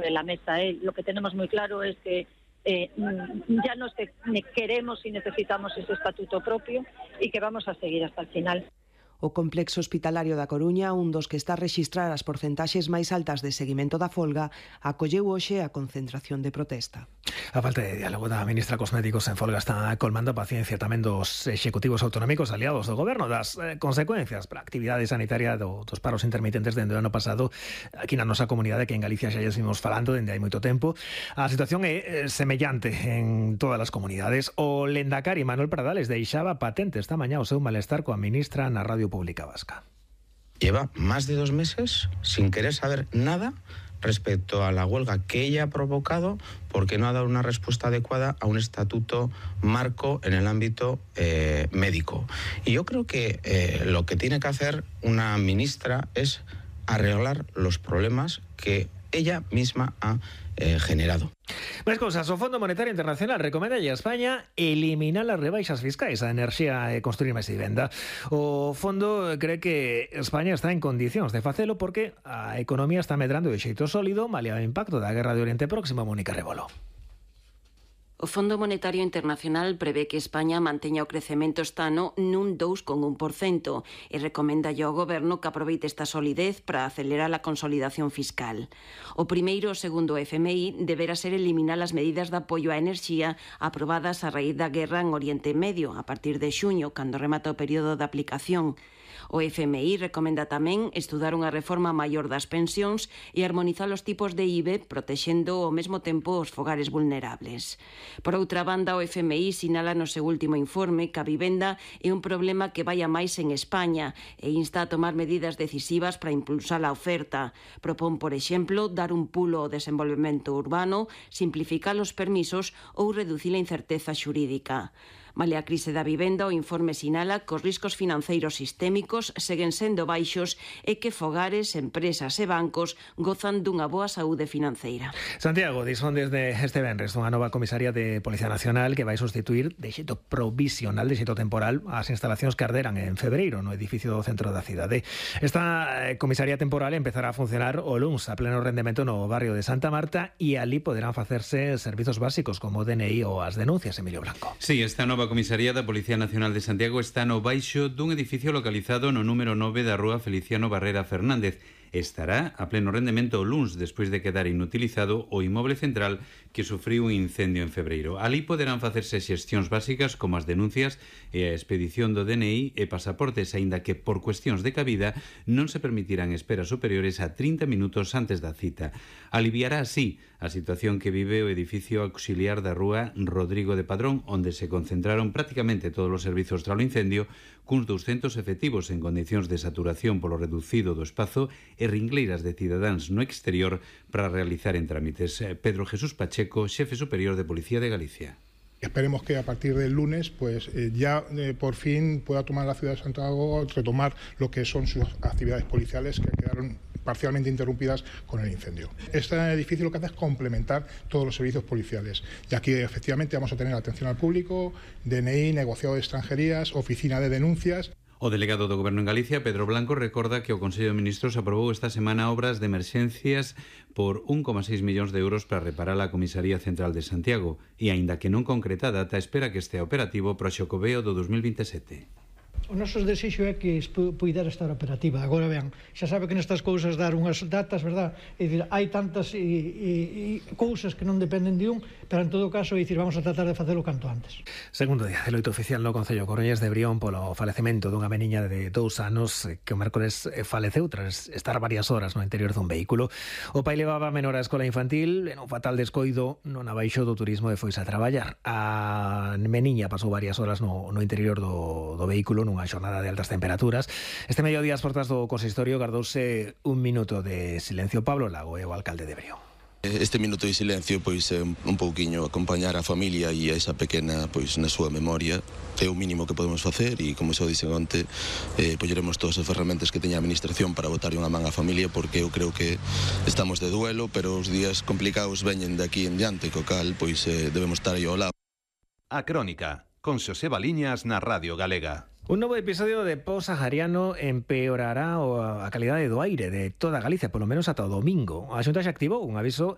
sobre la mesa. Lo que tenemos muy claro es que ya no queremos y necesitamos ese estatuto propio y que vamos a seguir hasta el final. O complexo hospitalario da Coruña, un dos que está a rexistrar as porcentaxes máis altas de seguimento da folga, acolleu hoxe a concentración de protesta. A falta de diálogo da ministra cos médicos en folga está colmando a paciencia tamén dos executivos autonómicos aliados do goberno das consecuencias para a actividade sanitaria dos paros intermitentes dende o ano pasado aquí na nosa comunidade, que en Galicia xa vimos falando dende hai moito tempo. A situación é semellante en todas as comunidades. O Lendakari Manuel Pradales deixaba patente esta mañá o seu malestar coa ministra na Radio Pública Vasca. Lleva más de 2 meses sin querer saber nada respecto a la huelga que ella ha provocado porque no ha dado una respuesta adecuada a un estatuto marco en el ámbito médico. Y yo creo que lo que tiene que hacer una ministra es arreglar los problemas que ella misma ha generado. Máis cousas, o Fondo Monetario Internacional recomenda a España eliminar as rebaixas fiscais a enerxía e construir máis vivenda. O fondo cree que España está en condicións de facelo porque a economía está medrando de xeito sólido malia o impacto da guerra de Oriente Próximo. Mónica Rebolo. O Fondo Monetario Internacional prevé que España manteña o crecemento este ano nun 2,1% e recomenda ao Goberno que aproveite esta solidez para acelerar a consolidación fiscal. O primeiro, segundo o FMI, deberá ser eliminar as medidas de apoio á enerxía aprobadas a raíz da guerra en Oriente Medio a partir de xuño, cando remata o período de aplicación. O FMI recomenda tamén estudar unha reforma maior das pensións e armonizar os tipos de IBE, protexendo ao mesmo tempo os fogares vulnerables. Por outra banda, o FMI sinala no seu último informe que a vivenda é un problema que vai a máis en España e insta a tomar medidas decisivas para impulsar a oferta. Propón, por exemplo, dar un pulo ao desenvolvemento urbano, simplificar os permisos ou reducir a incerteza xurídica. Malia a crise da vivenda, o informe sinala que os riscos financeiros sistémicos seguen sendo baixos e que fogares, empresas e bancos gozan dunha boa saúde financeira. Santiago dispón desde este venres unha nova comisaría de Policía Nacional que vai sustituir de xeito provisional, de xeito temporal, as instalacións que arderan en febreiro no edificio do centro da cidade. Esta comisaría temporal empezará a funcionar o luns a pleno rendemento no barrio de Santa Marta e ali poderán facerse servizos básicos como o DNI ou as denuncias. Emilio Blanco. Sí, esta nova comisaría da Policía Nacional de Santiago está no baixo dun edificio localizado no número 9 da rúa Feliciano Barrera Fernández. Estará a pleno rendemento o luns despois de quedar inutilizado o inmoble central que sufriu un incendio en febreiro. Ali poderán facerse xestións básicas como as denuncias e a expedición do DNI e pasaportes, aínda que por cuestións de cabida non se permitirán esperas superiores a 30 minutos antes da cita. Aliviará así a situación que vive o edificio auxiliar da rúa Rodrigo de Padrón, onde se concentraron prácticamente todos os servizos tras o incendio, cuns 200 efectivos en condicións de saturación polo reducido do espazo e ringleiras de cidadáns no exterior para realizar en trámites. Pedro Jesús Pacheco, xefe superior de Policía de Galicia. Esperemos que a partir del lunes ya por fin pueda tomar la ciudad de Santiago, retomar lo que son sus actividades policiales que quedaron parcialmente interrumpidas con el incendio. Este edificio lo que hace es complementar todos los servicios policiales. Y aquí efectivamente vamos a tener atención al público, DNI, negociado de extranjerías, oficina de denuncias. O delegado do Goberno en Galicia, Pedro Blanco, recorda que o Consello de Ministros aprobou esta semana obras de emerxencias por 1,6 millóns de euros para reparar a Comisaría Central de Santiago e, aínda que non concreta data, espera que este operativo para o xocoveo do 2027. O noso desexo é que puidera estar operativa. Agora, vean, xa sabe que nestas cousas dar unhas datas, verdad? É dicir, hai tantas cousas que non dependen de un, pero en todo caso, é dicir, vamos a tratar de facelo canto antes. Segundo día de loito oficial no Concello Coruñés de Brión polo falecemento dunha meniña de 2 anos que o mércores faleceu tras estar varias horas no interior dun vehículo. O pai levaba a menor á escola infantil en un fatal descoido non abaixo do turismo e foise a traballar. A meniña pasou varias horas no interior do vehículo nunha xornada de altas temperaturas. Este mediodía as portas do consistorio gardouse un minuto de silencio. Pablo Lago é o alcalde de Brión. Este minuto de silencio pois é un pouquiño acompañar a familia e a esa pequena pois na súa memoria. É o mínimo que podemos facer e, como xa dixen onte, polleremos todas as ferramentas que teña a administración para botar unha man á familia, porque eu creo que estamos de duelo, pero os días complicados veñen de aquí en diante, co cal pois debemos estar aí ao lado. A Crónica, con Xosé Baliñas na Radio Galega. Un novo episodio de po-sahariano empeorará a calidade do aire de toda Galicia, polo menos ata o domingo. A Xunta xa activou un aviso